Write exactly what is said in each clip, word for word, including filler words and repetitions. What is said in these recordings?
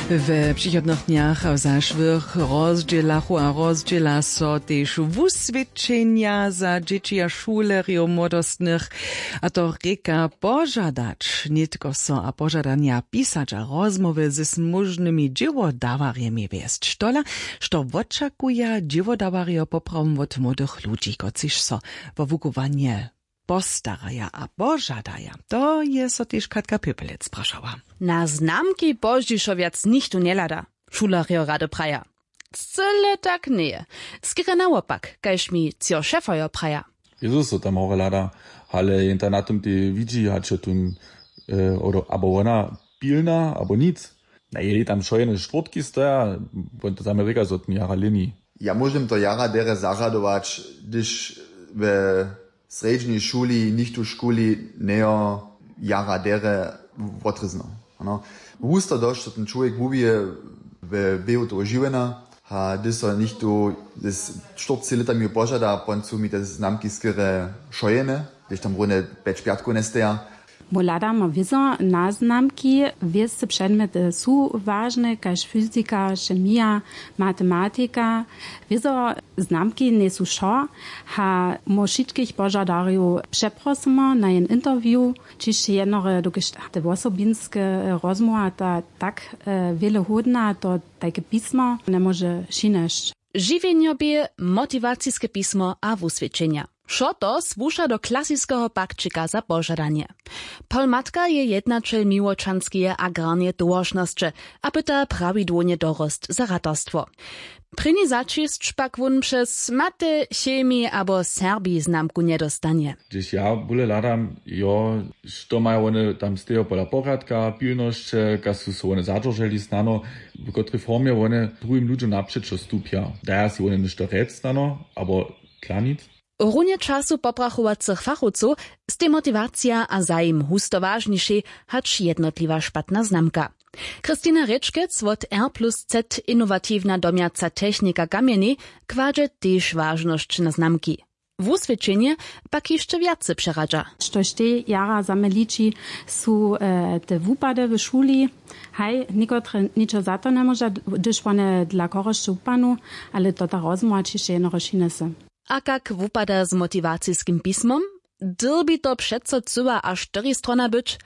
We přichodnych dnjach a w zašłych rozdźělachu a rozdźěla so tež wuswědčenja za dźěći a šulerjow młodostnych, a to rěka požadać nětko so a požadanja pisać a rozmołwy z móžnymi dźěłodawarjemi wjesć, tola što wočakuja dźěłodawarjo poprawom wot młodych ludźi, kotřiž so wo wukubłanje postaraja a požadaja. To je so tež Katka Pěpelec prašała. Na znamki pozdźišo wjac nichtó njehlada, šulerjo rady praja. Cyle tak njeje. Skerje nawopak, kaž mi třo šefojo praja. Jezus so tam hore hlada, ale jen ta na tym tej widźi hač je tón, abo wona, pilna abo nic. Na jeli tam wšojene štwórtki stoja. Wón to tam rěka zo tón jara lěni. Ja móžem to jara derje zarjadować, hdyž we srjedźnej šuli nichtó škuli njejo jara derje wotrězno. Ano, husto dosć to ten čłowjek wuwije we běhu toho žiwjena. A hdyž so nichtó z štyrceći lětami požada, pon su mi te znamki skerje šojene, hdyž tam runje pjeć pjatkow njesteja. Mój hladam wězo na znamki. Wěsce předmjety su wažne kaž fyzika, chemija, matematika. Wězo znamki njejsu wšo. A mój wšitkich požadarjow přeprosymy na jen interview, čiž jednore dokelž te wosobinske rozmołwa ta tak wjele hódna, to tajke pismo njemóže přinjesć. Žiwjenjobě, motiwaciske pismo a wuswědčenja, wšo to słuša do klasiskeho pakćika za požadanje. Polmatka je jednaćel miłočanskeje agrarneje towaršnosće a pyta prawidłownje dorost za ratarstwo. Prěni začisć pak wón přez mate, chemi abo serbi znamku njedostanje. Hdyž ja bóle hladam, jo, što maja wone tam stejo pola porjadka, pilnosće, kaž su so wone zadźerželi snano, w kotrej formje wone druhim ludźom napřećo stupja, daja sej wone něšto rjec snano abo tlanic. Runje času poprachowacych fachowcow stej motiwacija a zajim husto wažnišej hač jednotliwa špatna znamka. Christina Rěčkec wot R plus Z, inowatiwna domjaca technika kamjenej, kładźe tež wažnosć na znamki. Wuswědčenje pak hišće wjace přeradźa. Štož tej jara za mnje liči, su te wupady w šuli. Haj, někotre ničo za to njemóža, hdyž wone dla chorosće wupadnu, ale to ta rozmołwa ćiž jednorož hinese. A kak wupada z motiwaciskim pismom? Dyrbi to přeco cyła a štyristrona być?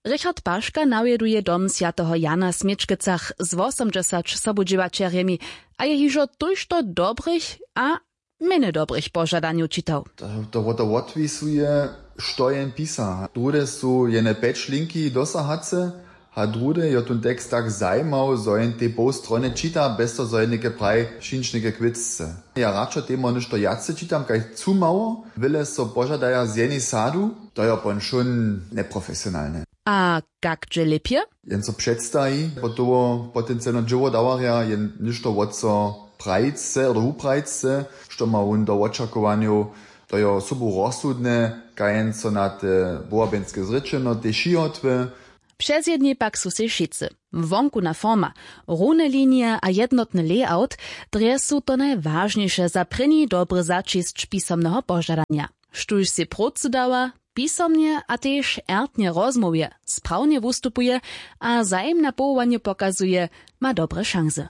Richard Paška nawjeduje dom swjateho Jana w Směčkecach z wosomdźesać sobudźěłaćerjemi a je hižo tójšto dobrych a mjene dobrych požadanjow čitał. To, to, to wotwisuje, što jen pisa. Druhde su jene pjeć linki dosahace, a druhde jo tón tekst tak zajimał, zo jen tej poł strony čita, bjez to zo jen něke praji, přińć něke kwěcce. Ja radšo temoj něšto wjace čitam kaž chcu mało, wjele so požadaja z jenej sadu, to jo pon wšón njeprofesionalne. A kak dźe lěpje? Jen so předstaji, potowo potencialno dźěłodawarja jen něšto wot so prajice abo wuprajice, što ma wón do wočakowanjow, to jo sobu rozsudne, kaž jen so na te wołabenske zrěčenotej přihotuje. Přezjedni pak su sej wšitcy. Wonkuna forma, rowne linije a jednotny layout, drje su to najwažniše za prěni dobry začisć pisomneho požadanja. Štóž sej prócy dawa, pisomnje a tež ertnje rozmołwje, sprawnje wustupuje a zajim na powołanje pokazuje, ma dobre šansy.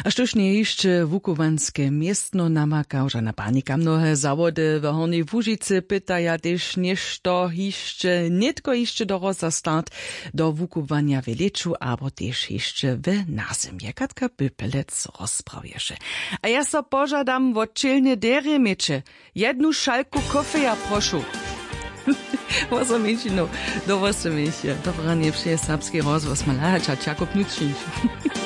A štóž njeje hišće wukubłanske městno, namaka žana panika. Mnohe zawody w Hornjej Łužicy pytaja tež něšto hišće, nětko hišće do roza start do wukubłanja w lěću abo tež hišće w nazymje. Katka Pylpelec rozprawješe. A ja so požadam wo ćělne derje měće. Jednu šalku kofeja, prošu. Wosomjeńšinu do wosomich. Dobre ranje přeje Serbski rozhłos Malahača Jakub Nučnić.